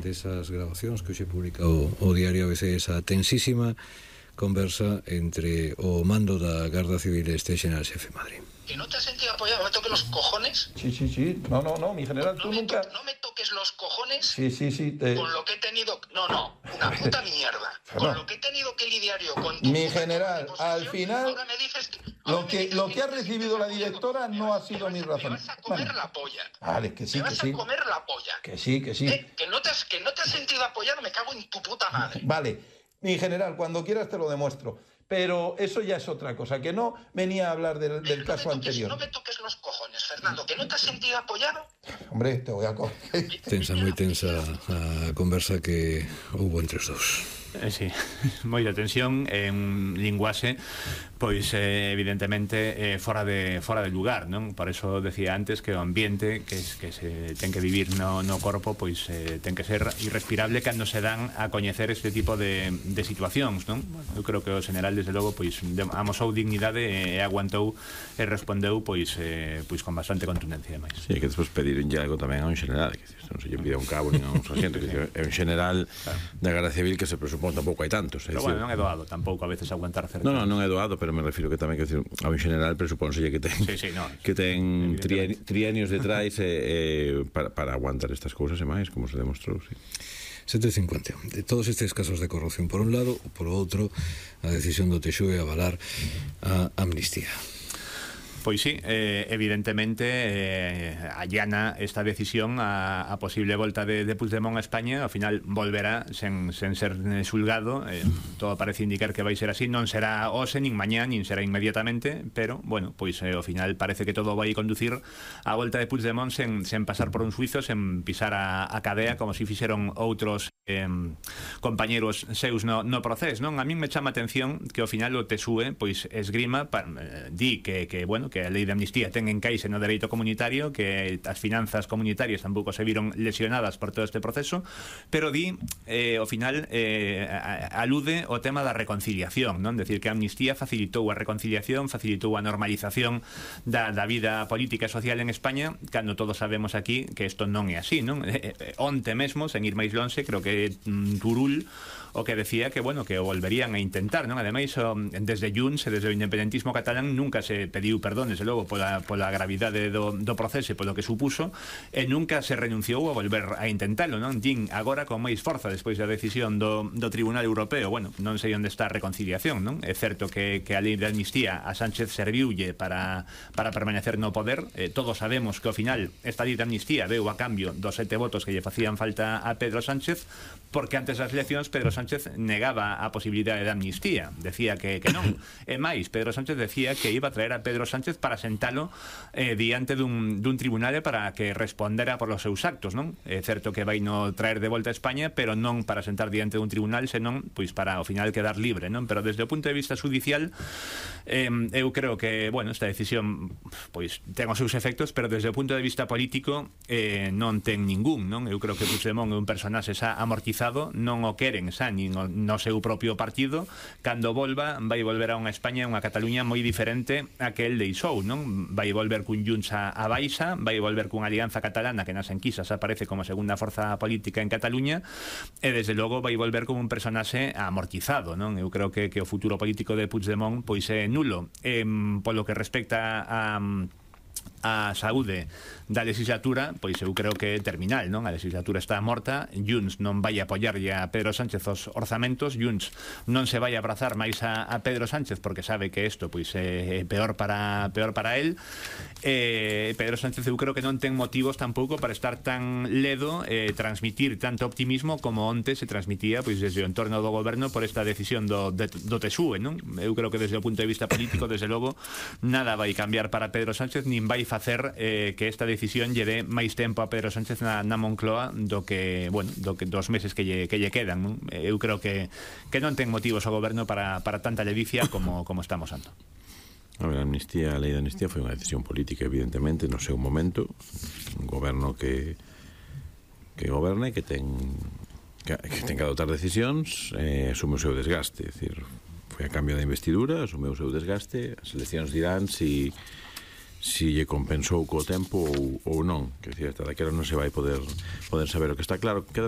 desas grabacións que hoxe publica o diario ABC, esa tensísima conversa entre o mando da Garda Civil e este general xefe en Madrid. ¿Que no te has sentido apoyado? ¿No me toques los cojones? Sí. No, mi general, tú nunca... No me toques los cojones. Sí. Con lo que he tenido... No, una puta mierda. Con lo que he tenido que lidiar yo con tu... Mi general, al final... Ahora me dices que... Lo que ha recibido la directora no ha sido mi razón. Me vas a comer la polla. Vale, que sí. Me vas a comer la polla. Que sí. Que no te has sentido apoyado, me cago en tu puta madre. Vale, mi general, cuando quieras te lo demuestro. Pero eso ya es otra cosa, que no venía a hablar del caso anterior. No me toques los cojones, Fernando, que no te has sentido apoyado. Hombre, te voy a coger. Moi tensa a conversa que houbo entre os dous. Sí, moita tensión en linguaxe, pois evidentemente fora de lugar, non? Por eso decía antes que o ambiente que se ten que vivir no corpo, pois ten que ser irrespirable cando se dan a coñecer este tipo de situacións, non? Eu creo que o general desde logo pois amosou dignidade e aguantou e respondeu pois con bastante contundencia máis. Sí, que despois pedironlle algo tamén a un general, que non se lle pide a un cabo nin a un sargento, que é un general da Garda Civil que se presupón tampouco hai tantos. Pero bueno, non é doado tampouco a veces aguantar certo. Non é doado, pero me refiro que tamén que a un general presupónselle que ten que ten trienios detrás para aguantar estas cousas e máis, como se demostrou, sí. 7.50. De todos estes casos de corrupción por un lado, por outro, a decisión do TXUE a avalar a amnistía. Pois sí, evidentemente allana esta decisión a posible volta de Puigdemont a España. Ao final volverá sen ser xulgado, todo parece indicar que vai ser así. Non será hoxe, nin mañá, nin será inmediatamente, pero, bueno, pois ao final parece que todo vai conducir a volta de Puigdemont sen pasar por un suizo, sen pisar a cadea, como se fixeron outros compañeros seus no proceso, non? A min me chama a atención que ao final o TSUE pois esgrima, di que bueno, que a lei de amnistía ten encaixe no dereito comunitario, que as finanzas comunitarias tampouco se viron lesionadas por todo este proceso, pero di, ao final alude ao tema da reconciliación, non? Decir que a amnistía facilitou a reconciliación, facilitou a normalización da vida política e social en España, cando todos sabemos aquí que isto non é así, non? Onte mesmo, sen ir máis lonxe, creo que Turul o que decía que, bueno, que o volverían a intentar, non? Ademais, desde Junts e desde o independentismo catalán nunca se pediu perdón, desde logo, pola gravidade do proceso e polo que supuso, e nunca se renunciou a volver a intentalo, non? Din agora con máis forza despois da decisión do Tribunal Europeo. Bueno, non sei onde está a reconciliación, non? É certo que a lei de amnistía a Sánchez serviulle para permanecer no poder. Todos sabemos que ao final esta lei de amnistía deu a cambio dos 7 votos que lle facían falta a Pedro Sánchez, porque antes das eleccións Pedro Sánchez negaba a posibilidade de amnistía, decía que non. E máis, Pedro Sánchez decía que iba a traer a Pedro Sánchez para sentalo diante dun tribunal para que respondera por os seus actos, non? É certo que vai no traer de volta a España, pero non para sentar diante dun tribunal, senón pois para ao final quedar libre, non? Pero desde o punto de vista judicial eu creo que, bueno, esta decisión pois ten os seus efectos, pero desde o punto de vista político non ten ningún, non? Eu creo que Puigdemont é un personaxe xa amortizado, non o queren xa nin no seu propio partido. Cando volva, vai volver a unha España, unha Cataluña moi diferente a que el deixou, non? Vai volver cun Junts a baixa, vai volver cunha alianza catalana que nas enquisas aparece como segunda forza política en Cataluña, e desde logo vai volver como un personaxe amortizado, non? Eu creo que o futuro político de Puigdemont pois é nulo. Polo que respecta a saúde da legislatura, pois eu creo que é terminal, non? A legislatura está morta, Junts non vai apoiarlle a Pedro Sánchez os orzamentos, Junts non se vai abrazar máis a Pedro Sánchez porque sabe que isto pois é peor para él. Pedro Sánchez eu creo que non ten motivos tampouco para estar tan ledo e transmitir tanto optimismo como onte se transmitía pois desde o entorno do goberno por esta decisión do TSUE, non? Eu creo que desde o punto de vista político, desde logo, nada vai cambiar para Pedro Sánchez, nin vai facer que esta decisión lle dé máis tempo a Pedro Sánchez na Moncloa do que dos meses que lle quedan, non? Eu creo que non ten motivos o goberno para tanta ledicia como estamos ando. A ver, a lei de amnistía foi unha decisión política, evidentemente, no seu momento. Un goberno que goberna e que ten que adoptar decisións, asume o seu desgaste. É dicir, foi a cambio da investidura, asume o seu desgaste, as eleccións dirán si lle compensou co tempo ou non. Que decir, hasta daquela non se vai poder saber. O que está claro, queda